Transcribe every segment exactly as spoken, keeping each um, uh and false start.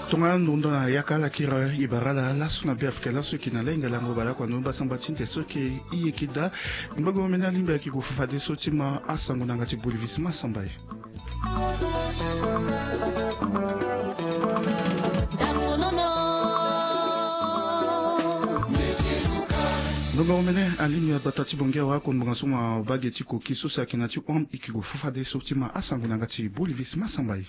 Tongana ndo ndo na yaka ala kiri e bara ala laso na Beafrika laso e yeke na lahinga lango baleoko na ndo mbasamba ti nze so e yeke e yeke daa. Ngbongo omene alingbi ayeke gue fafadeso ti ma asango na yanga ti Bolivis Masamba e. Ngbongo omene alingbi agbata ti Bongi awa akongbanga so mabage ti koki so si ayeke na ti hon e yeke gue fafadeso ti ma asango na yanga ti Bolivis Masamba e.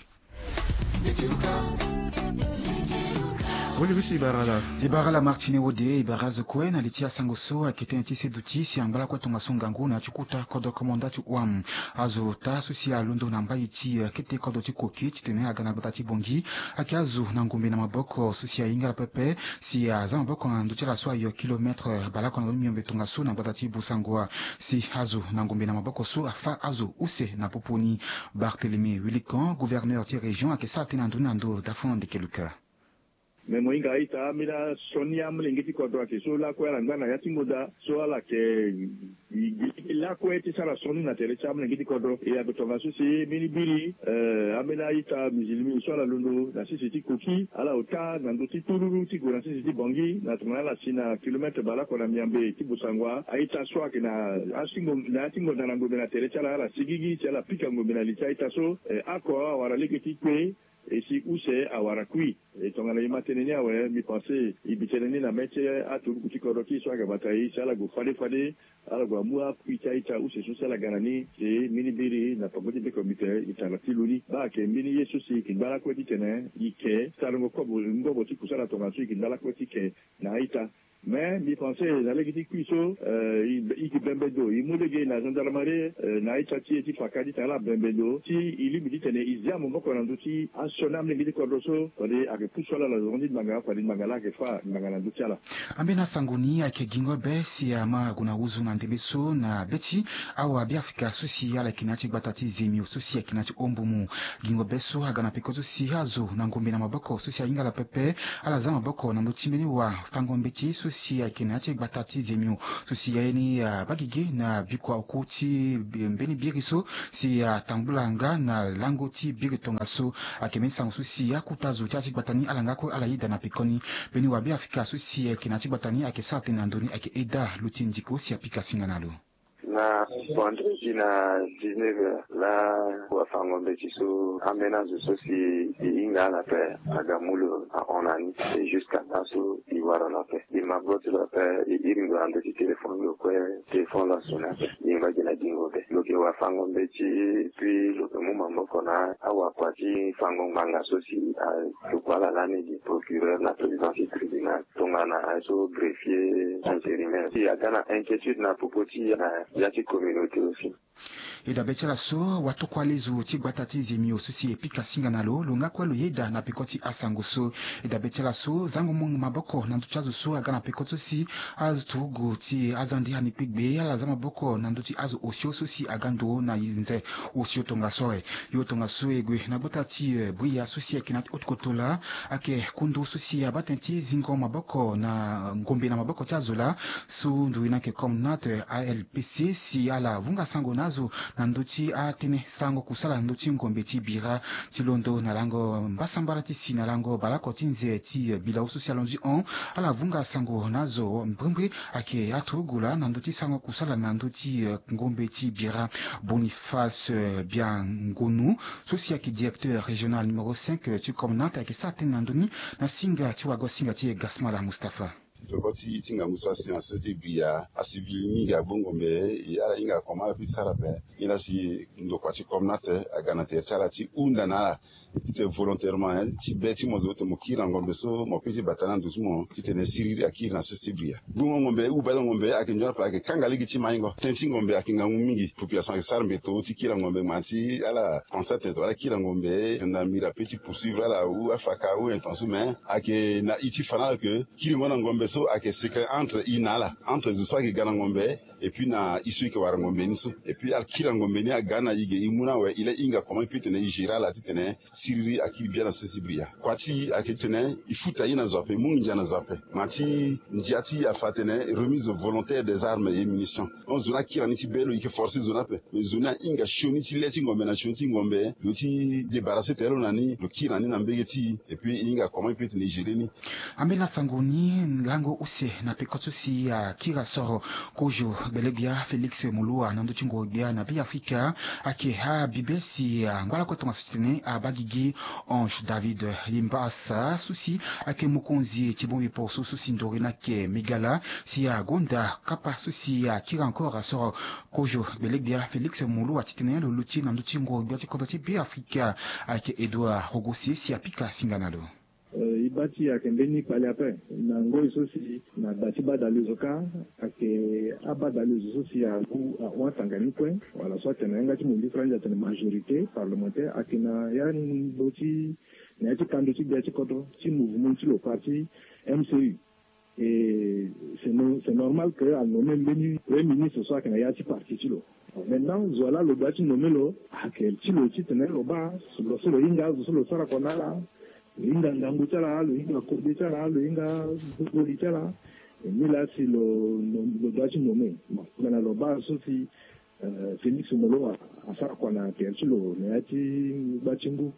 Bolivis, e bara ala. E bara ala Martine Wode, e bara azo kue na li ti asango so ayeke tënë ti seduti si angba lakue tongaso ngangu na ya ti kota kodro komanda ti hon. Azo ota so si alondo na mbai ti, eh, kete kodro ti koki titene aga na gbata ti Bongi. Ayeke azo na ngombe na maboko so si ahinga ala pepe si aza maboko na ndö ti ala so ayo kilometre baleoko na ndö ni miombe tongaso na gbata ti Bossangoa. Si azo na ngombe na maboko so afa azo use na popo ni. Barthélemy Willican, gouverneur ti région, ayeke sara tënë na ndö ni na ndö Dafon Ndekeluka. Me mo hinga a-ita ambeni asioni amolenge ti kodro ayeke so lakue ala ngba na ya ti ngonda so ala yeke gi lakue ti sara sioni na tere ti amolenge ti kodro. E ague tongaso si mbeni biri, eh, ambeni a-ita musulmi so ala londo na sese ti koki, ala ota na ndö ti tululu ti gue na sese ti Bongi na tongana ala si na kilometre baleoko na miombe ti Bossangoa. A-ita so ayeke na asingo na ya ti ngonda na ngombe na tere ti ala, ala sigigi si ala pika ngombe na li ti a-ita so. Eh, oko awara lege ti kpe, e si use awara kui. E tongana e ma tënë ni awe, mbi pense e bi tënë ni na mê ti aturugu ti kodro ti e so ayeke bata e si ala gue fade fade, ala gue amu akui ti a-ita use so si ala ga na ni si mbeni biri na peko ti beko mbi tene e tara ti lo ni. Baa ayeke mbeni ye so si e yeke ngba lakue titene e ke sarango kobo ngobo ti kusala tongaso e yeke ngba lakue ti ke na a-ita. Me mbi pense na lege ti kui so, eh, e yeke bembe ndo e mu lege na gendarmerie, eh, na a-ita ti e ti Faka titene ala bembe ndo si e lingbi titene e zia maboko na ndö ti asioni amolenge ti kodro so fade ayeke pusu ala na zongo ti ngbanga fade ngbanga laa ayeke fâ ngbanga na ndö ti ala. Ambeni asango ni ayeke gingo be si ama ague na wuzu na ndembe so na be ti awabiafrika so si ala yeke na ya ti gbata ti Zemio so si ayeke na ya ti Ombumu. Gingo be so aga na peko so si azo na ngombe na maboko so si ahinga ala pepe, ala za maboko na ndö ti mbeni wafango-mbeti so si ayeke na ya ti gbata ti Zemio so si aye ni, ah, abagege na bikua oku ti mbeni biri so si atambula nga na lango ti biri tongaso. Ayeke mbeni sango so si akota zo ti ya ti gbata ni ala nga kue ala yeda na pekoni. Mbeni wabiafrika so si ayeke na ya ti gbata ni ayeke sara tënë na ndö ni ayeke Eda Luti Ndiko si apika singa na lo. Na vendredi na dix-neuf heures laa wafango-mbeti so ambeni azo so si e hinga ala ape aga mu lo ahon na ni. E jusqu'à laso e wara lo ape. E ma gbo ti lo ape, e iri ndo na ndö ti téléphone lo kue, téléphone lo asone ape. E ngba gi na gingo be. Lo yeke wafango-mbeti, puis lo yeke mu maboko na awakua ti fango ngbanga so si atuku ala lani gi procureur na président ti tribunal. Tongana aye so greffier intérimaire si aga na inquiétude na popo ti na ya ti communauté aussi. E dabe ti ala so watokua lezo ti gbata ti Zemio so si e pika singa na lo, lo nga kue lo yeda na peko ti asango so. E dabe ti ala so zango mo maboko na ndö ti azo so aga na peko so si aturugu ti azande ani kpegbe ala za maboko na ndö ti azo osio so si aga ndo na nze osio tongaso awe. Yo tongaso e gue na gbata ti, eh, Bria so si ayeke na ya ti haute-kotoro laa, ayeke kundu so si abaa tënë ti zingo maboko na ngombe na maboko ti azo laa so nduzu ni ayeke Comnat, eh, A L P C si ala vunga sango na azo na ndö ti atënë sarango kusala na ndö ti ngombe ti bira ti londo na lango mbasambala ti si na lango baleoko ti nze ti, eh, bilao so si alondo ti hon. Ala vunga sango na azo mbrimbri ayeke aturugu laa na ndö ti sarango kusala na ndö ti, eh, ngombe ti bira. Boniface, eh, Biangonu so si ayeke directeur régional numéro cinq, eh, ti Comnat ayeke sara tënë na ndö ni na singa ti wago singa ti e Gasmala Mustapha. Peko ti, ti ngangu so asi na sese ti Bria, asivili mingi agbu ngombe, e ala hinga comment ala peut sara ape. Nilaa si ndokua ti Comnat aga na tere ti ala ti hunda na ala titene volontairement, hein, ti be ti mo zo titene mo kiri na ngombe so mo peut ti bata na ndo ti mo titene siriri akiri na sese ti Bria. Gbungo ngombe, hubale ngombe ayeke nzoni ape, ayeke kanga lege ti maingo. Tënë ti ngombe ayeke ngangu mingi. Population ayeke sara mbeto ti kiri na ngombe, ngma ti ala pense atene tongana ala kiri na ngombe, gendarmerie apeut ti poursuivre ala ou afaka ou intention, mais ayeke na i ti fa na ala ke kiringo na ngombe so ayeke secret entre i na ala, entre zo so ayeke ga na ngombe et puis na i so i yeke wara ngombe ni so. Et puis ala kiri na ngombe ni aga na i ge i mu na awe, i laa i hinga comment i peut tene i gérer ala titene Siriri akiri bia na sese bria. Kua ti e ayeke titene e futa ye na zo ape, e mu nginza na zo ape. Ma ti ndia ti e afa atene remise volontaire des armes et munitions. Hon, zo ni akiri na ni ti be lo, e yeke forcer zo ni ape. Mais zo ni ahinga sioni ti le ti ngombe na sioni ti ngombe, lo ti débarrasser tere lo na ni, lo kiri na ni na mbege ti e. Et puis e hinga comment e peut tene e gérer ni. Ambeni asango ni, lango use na peko so si akiri asoro kozo gbelegbia Félix Moloua na ndö ti ngoro gbia na Beafrika, ayeke abibe si angba lakue tongaso titene abaa gigi Ange David Limbasa so si ayeke mokonzi ti bongbi poroso so si ndori ni ayeke Migala, si agonda kapa so si akiri encore asoro kozo gbelegbia Félix Moloua titene lo luti na ndö ti ngoro gbia ti kodro ti Beafrika, ayeke Edouard Rogosi si apika singa na lo. Eh, e baa ti e ayeke mbeni kpale ape. Na ngoi so si na gba ti badalezo kâ, ayeke abadalezo so si agu ahon atanga ni kue, wala so atene na yanga ti molifra ande atene majorité parlementaire, ayeke na ya ndo ti, na ya ti kando ti gbia ti kodro ti mouvement ti lo parti M C U. Et c'est no-, c'est normal que a nommé mbeni premier ministre so ayeke na ya ti parti ti lo. Maintenant zo wa laa lo doit ti nommé lo, ayeke ti lo titene lo baa lo so lo hinga azo so lo sara kua na ala, lo hinga ngangu ti ala, lo hinga kode ti ala, lo hinga goli ti ala. Et ni laa si lo, lo, lo doit ti nommé. Bon, tongana lo baa so si, euh, Félix Moloua asara kua na tere ti lo na ya ti gba ti ngu,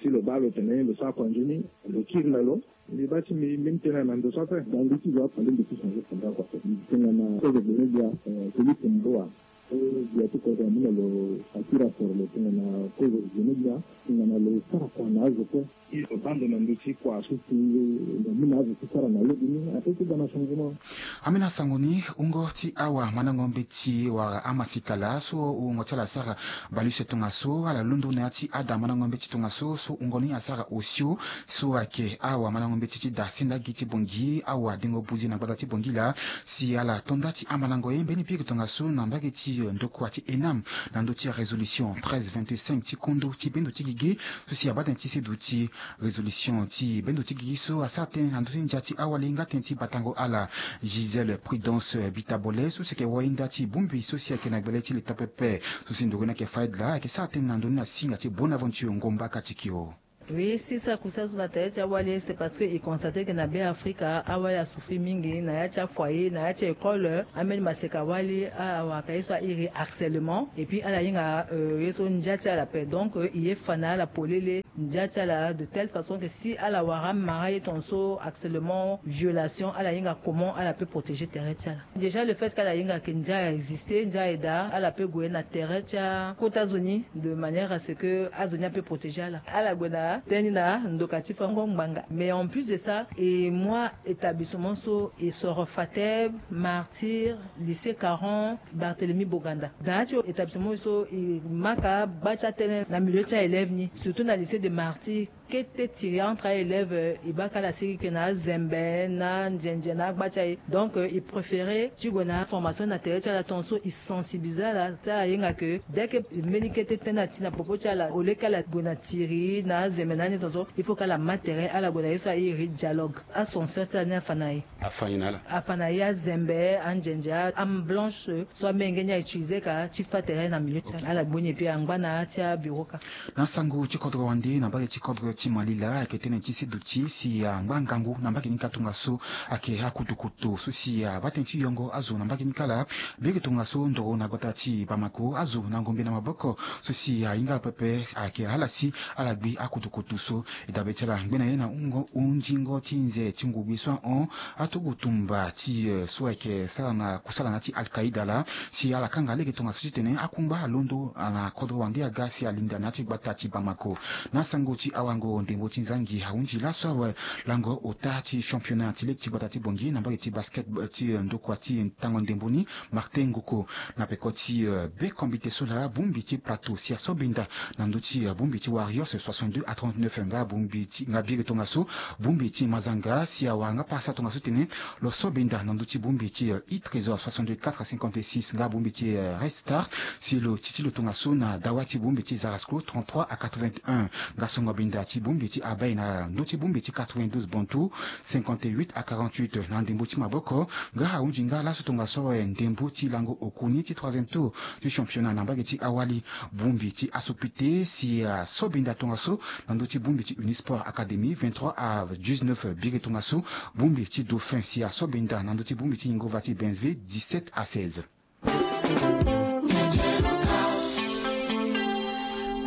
si lo baa lo tene lo sara kua nzoni, lo kiri na lo. Mbi baa ti mbi, mbi tene na ndo so ape. Ngangu ti zo afa nde mbi ti changer kua nda kua ape. Mbi tene na kozo gbene gbia, eh, Félix Moloua. Eh, gbia ti kodro amû na lo akiri asoro lo tongana kozo gbene gbia, tongana lo sara kua na azo kue. Lo baa ndo na ndö ti kua so si lo mû na azo ti sara na lege ni, ape ti ga na changement. Ambeni asango ni, wungo ti awa mandango mbeti wala amasikala so wungo ti ala asara baleuse tongaso, ala londo na ya ti ada mandango mbeti tongaso so wungo ni asara osio, so ayeke awa mandango mbeti ti da senda gi ti Bangui, awa dengo buzi na gbata ti Bangui laa, si ala to nda ti amandango ye mbeni biri tongaso na mbage ti ndokua ti ENAM, na ndö ti résolution treize vingt-cinq ti kondo ti bendo ti gigi, so si abaa tënë ti seduti. Résolution ti bendo ti gigi so asara tënë na ndö ti ndia ti awali nga tënë ti batango ala, Gisèle Prudence Bitabole, so si ayeke wainda ti bongbi so si ayeke na gbele ti leta pepe, so si ndoro ni ayeke Faidla, ayeke sara tënë na ndö ni na singa ti Bonaventure Ngomba Katikio. Oui, si sara kusala so na tere ti awali, c'est parce que e constate que na Beafrika awali asouffrir mingi na ya ti afoyer, na ya ti école, ambeni maseka wali awara ka ye so a iri harcèlement, et puis ala hinga, euh, ye so ndia ti ala ape. Donc, euh, e ye fa na ala polele ndia ti ala de telle façon que si ala wara amara ye tongaso, harcèlement, violation, ala hinga comment ala peut protéger tere ti ala. Déjà le fait que ala hinga que ndia a exister, ndia aye daa, ala peut gue na tere ti akota zo ni de manière à ce que azo ni ape protéger ala. Ala gue na tënë ni na ndoka ti fango ngbanga. Mais en plus de ça, e mu établissement so e soro Fateb, Martyr, lycée Caron, Barthélemy Boganda. Dans ya ti établissement so e maka gba ti atënë na milieu ti aélève ni, surtout na lycée de Martyr. Kete tiri entre aélève, euh, e baa ka ala sigi ke na azembe, na anzenze, na agba ti aye. Donc, euh, e préféré ti gue na formation na tere ti ala tongaso, e sensibiliser ala ti ala hinga ke dès que mbeni kete tënë ati na popo ti ala, au lieu ke ala gue na tiri, na azembe na ani tongaso, il faut ke ala ma tere, ala gue na ye so a iri dialogue. Ascenseur ti ala ni afa na ye. Afa na ala. Afa na ye azembe, anzenze, âme blanche, so amenge ni a utiliser ka ti fa tere na milieu ti ala. Ala gbu ni, et puis angba na ya ti abureau ka. Na sango ti kodro wande na mbage ti kodro ti Malila, ayeke tënë ti seduti si angba ngangu na mbage ni ka tongaso ayeke akutukutu so si abaa tënë ti yongo azo na mbage ni ka laa. Biri tongaso ndoro na gbata ti Bamako, azo na ngombe na maboko so si ahinga ala pepe ayeke ala si ala gbi akutukutu so. E dabe ti ala ngbe na ye na hungo, hunzingo ti nze ti ngugbi so ahon aturugu tumba ti, eh, so ayeke sara na kusala na ya ti Al-Qaïda laa, si ala kanga lege tongaso titene akungba alondo na kodro wande aga si alinda na ya ti gbata ti Bamako. Na sango ti awango ndembo ti nzangi ahunzi laso awe lango ota ti championnat ti ligue ti gbata ti Bangui na mbage ti basket, eh, ti, eh, ndokua ti tango ndembo ni, Martin Ngoko. Na peko ti, eh, be kombite so laa, bongbi ti Plateau si asobinda na ndö ti, eh, bongbi ti Warriors soixante-deux à trente-neuf, nga bongbi ti, nga biri tongaso, bongbi ti Mazanga si awara nga pasa tongaso titene lo sobinda na ndö ti bongbi ti, eh, I Trésor soixante-quatre à cinquante-six, nga bongbi ti, eh, Red Star si lo ti ti lo tongaso na dawa ti bongbi ti Zarasco trente-trois à quatre-vingt-un. Nga songo binda ti ti bongbi ti abai na ndö ti bongbi ti quatre-vingt-douze Bantu, cinquante-huit à quarante-huit. Na ndembo ti maboko, nga ahunzi nga laso tongaso ndembo ti lango okuni ti troisième tour ti championnat na mbage ti awali. Bongbi ti asopite si asobenda tongaso na ndö ti bongbi ti Unisport Academy, vingt-trois à dix-neuf. Biri tongaso bongbi ti Dauphin si asobenda na ndö ti bongbi ti Yingova ti Bensville, dix-sept à seize.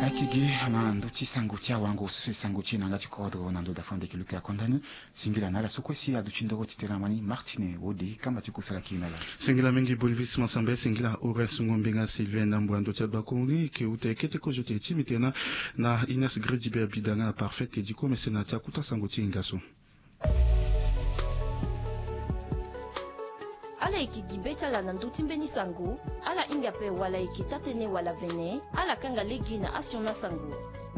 Ayeke gi na ndö ti sango ti awango so e sango ti e na yanga ti kodro na ndö dafande keluke akonda ni. Singila na ala so kue si aduti ndoro ti tene na mani Martine Wode, kamba ti kusala kiri na ala. Singila mingi Boniface Masambe, singila Horace Ngombenga, Sylvain Nambwa, ndö ti adua kongoni ke uta e kete kozo te ti mitena na Ines Grediber Bidanga na Parfait Ediko Mesena ti akuta sango ti hinga so. Ala yeke gi be ti ala na ndö ti mbeni sango. Ala hinga ape wala ayeke taa-tënë wala vene, ala kanga lege na asioni asango.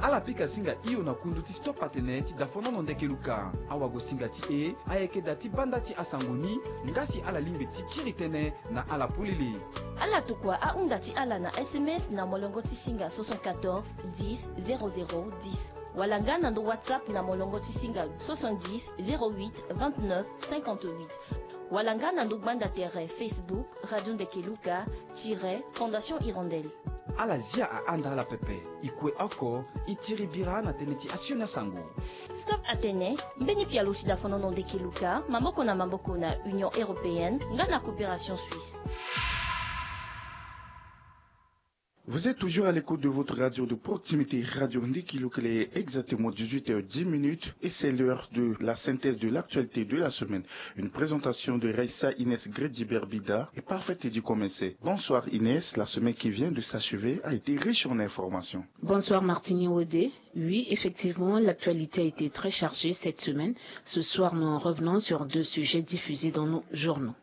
Ala pika singa hio na kundu ti Stop Atene ti dafonono ndeke luka. Awagosinga ti e ayeke da ti banda ti asango ni, nga si ala lingbi ti kiri tënë na ala polele. Ala tokua ahunda ti ala na S M S na molongo ti singa soixante-quatorze dix zéro zéro dix. Wala nga na ndo WhatsApp na molongo ti singa soixante-dix zéro huit vingt-neuf cinquante-huit. Wala nga na ndo gbanda tere Facebook, Radio Ndeke Luka, tiret, Fondation Hirondelle. Ala zia ahanda ala pepe, e kue oko, e tiri bira na tënë ti asioni asango. Stop Atene, mbeni pialo ti dafonono ndeke luka, maboko na maboko na Union Européenne, nga na Coopération Suisse. Vous êtes toujours à l'écoute de votre radio de proximité, Radio Ndiki Lukele, exactement dix-huit heures dix minutes, et c'est l'heure de la synthèse de l'actualité de la semaine. Une présentation de Raissa Inès Grediberbida et Parfaite Eddy Comensé. Bonsoir Inès, la semaine qui vient de s'achever a été riche en informations. Bonsoir Martini Wodé. Oui, effectivement, l'actualité a été très chargée cette semaine. Ce soir, nous revenons sur deux sujets diffusés dans nos journaux.